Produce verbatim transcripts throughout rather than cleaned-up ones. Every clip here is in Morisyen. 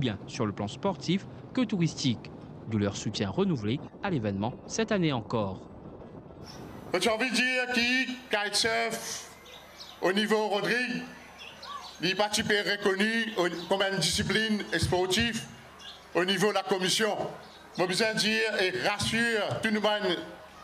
bien sur le plan sportif que touristique, d'où leur soutien renouvelé à l'événement cette année encore. Mo ti anvi dir ki kitesurf o nivo Rodrig, li pa ti pe rekoni o, kom enn disiplinn sportif o nivo lakomision. Mo bizin dir e rasir tou nou bann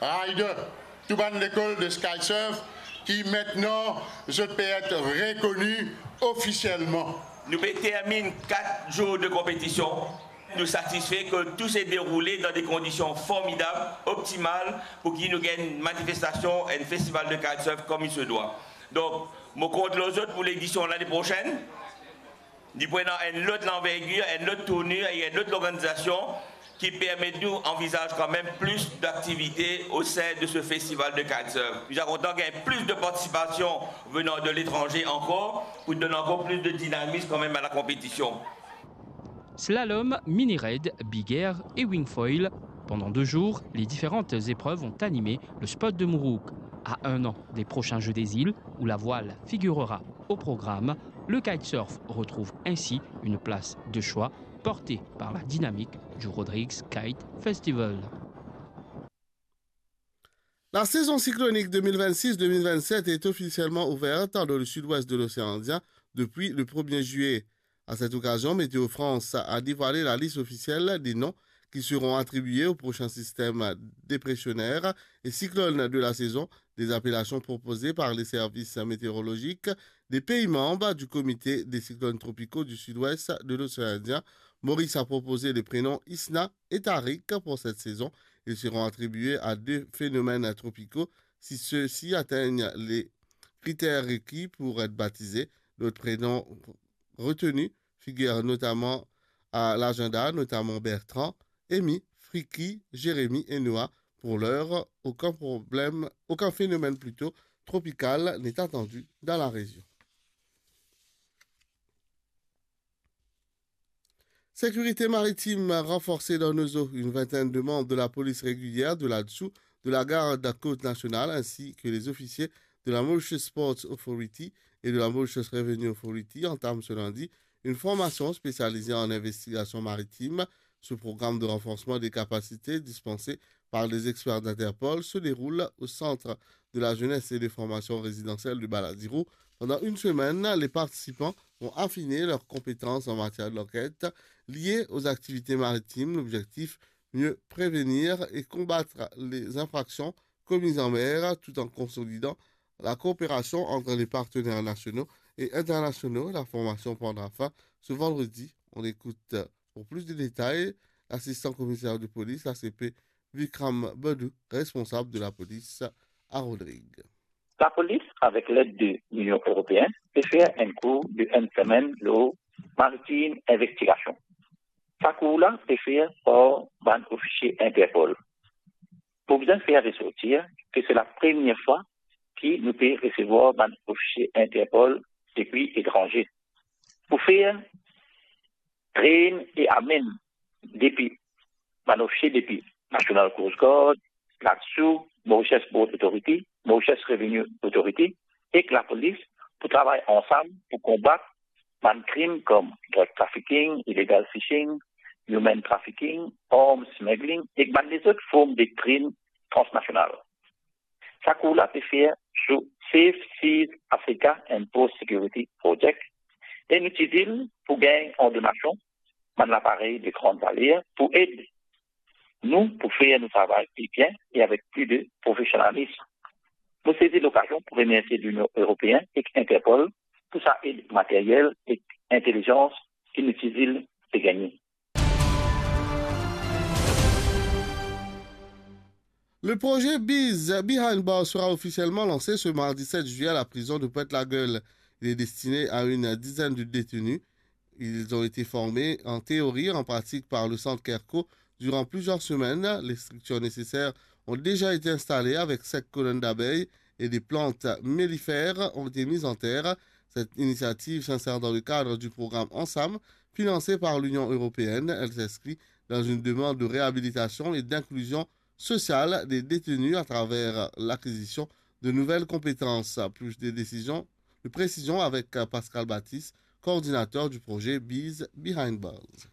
rider, tou bann lekol de kitesurf ki aster zot pe et rekoni ofisielman. Nou pe terminn kat zour de konpetision. Nou satisfe ke tou se deroule dan de kondision formidab, optimal, pou ki nou gagn manifestasion, enn festival de kitesurf comme il se doit. Donk, mo kont lor zot pou ledision lane prosenn. Li pou ena enn lot lanvergir, enn lot tournir e enn lot lorganizasion ki permet nou anvizaz kanmem plis daktivite o sein de se festival de kitesurf. Nou ti a kontan gagn plis de partisipasion venan de letranze ankor, pou donn ankor plis de dinamis kanmem a lakonpetision. Slalom, mini raid, big air et wing foil. Pendant deux jours, les différentes épreuves ont animé le spot de Mourouk. À un an des prochains Jeux des Îles, où la voile figurera au programme, le kitesurf retrouve ainsi une place de choix portée par la dynamique du Rodrigues Kite Festival. La saison cyclonique deux mille vingt-six deux mille vingt-sept est officiellement ouverte dans le sud-ouest de l'océan Indien depuis le premier juillet. À cette occasion, Météo France a dévoilé la liste officielle des noms qui seront attribués au prochain système dépressionnaire et cyclone de la saison, des appellations proposées par les services météorologiques des pays membres du Comité des cyclones tropicaux du sud-ouest de l'océan Indien. Maurice a proposé les prénoms Isna et Tariq pour cette saison. Ils seront attribués à deux phénomènes tropicaux si ceux-ci atteignent les critères requis pour être baptisés. D'autres prénoms retenus figurent notamment à l'agenda, notamment Bertrand, Amy, Friki, Jérémy et Noah. Pour l'heure, aucun problème, aucun phénomène plutôt tropical n'est attendu dans la région. Sécurité maritime renforcée dans nos eaux. Une vingtaine de membres de la police régulière, de la DSOU, de la garde côte nationale ainsi que les officiers de la Mauritius Ports Authority et de la Mauritius Revenue Authority entament ce lundi une formation spécialisée en investigation maritime. Ce programme de renforcement des capacités dispensé par les experts d'Interpol se déroule au Centre de la Jeunesse et des Formations Résidentielles de Baladiro. Pendant une semaine, les participants vont affiner leurs compétences en matière d'enquête liées aux activités maritimes. L'objectif, mieux prévenir et combattre les infractions commises en mer, tout en consolidant la coopération entre les partenaires nationaux et internationaux. La formation prendra fin ce vendredi. On écoute, pour plus de détails, l'assistant commissaire de police, l'A C P Vikram Badou, responsab de lapolis a Rodrig. Lapolis, avek led de Linion Eropein, pe fer enn kour de enn semenn lor maritim investigasion. Sa kour la pe fer par bann ofisie Interpol. Pou bizin fer resortir ke se lapremier fwa ki nou pe resevwar bann ofisie Interpol depi etranze. Pou fer train e amenn depi bann ofisie depi National Coast Guard, LADSU, Mauritius Port Authority, Mauritius Revenue Authority ek lapolis pou travay ansam pou konbat bann krim kom drug trafficking, illegal fishing, human trafficking, arms smuggling ek bann lezot form de krim transnasional. Sa kour la pe fer sou Safe Seas Africa and Port Security Project e nou ti dir pou gagn an donasion bann laparey de gran valer pou ed nou pou fer nou travay pli bien e avek pli de profesionalism. Mo sezi lokazion pou remersie Linion Eropein ek Interpol pou sa ed materyel ek intelizans ki nou ti dir pe gagne. Le projet Bees Behind Bars sera officiellement lancé ce mardi sept juillet à la prison de Pointe-la-Gueule. Il est destiné à une dizaine de détenus. Ils ont été formés en théorie et en pratique par le centre Kerco durant plusieurs semaines. Les structures nécessaires ont déjà été installées avec cinq colonnes d'abeilles et des plantes mellifères ont été mises en terre. Cette initiative s'insère dans le cadre du programme Ansam, financé par l'Union européenne. Elle s'inscrit dans une demande de réhabilitation et d'inclusion sociale des détenus à travers l'acquisition de nouvelles compétences. Plus de décisions, de précisions avec Pascal Baptiste, coordinateur du projet Bees Behind Bars.